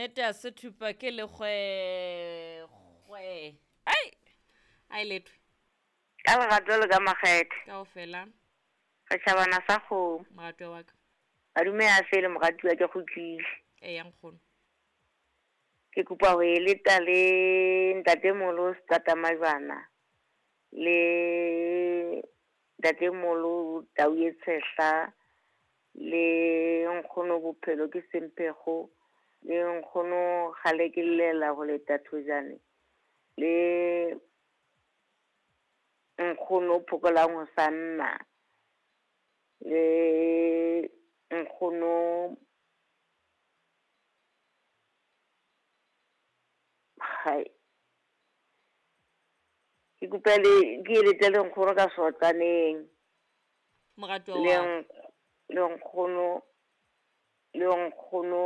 Nnete a se thupa ke lekgwekgwe. Ai! A e letwe. Ka lerato le ka makgethe. Kaofela. Setšhabana sa kgomo. Moratuwa wa ka. Madume a fele moratuwa ke kgutlile. Eya nkgono. Ke kopa ho e leta le ntatemolo Seqatamajwana le ntatemolo Tau ye Tshehla le nkgono Bophelo ke Semphego le nkgono Kgale ke llela ho leta thojane le nkgono Phokolang Hosanna le nkgono hai ke kopa le ke eletse le nkgono ka sotlaneng Moratuwa le wa ka. le nkgono le nkgono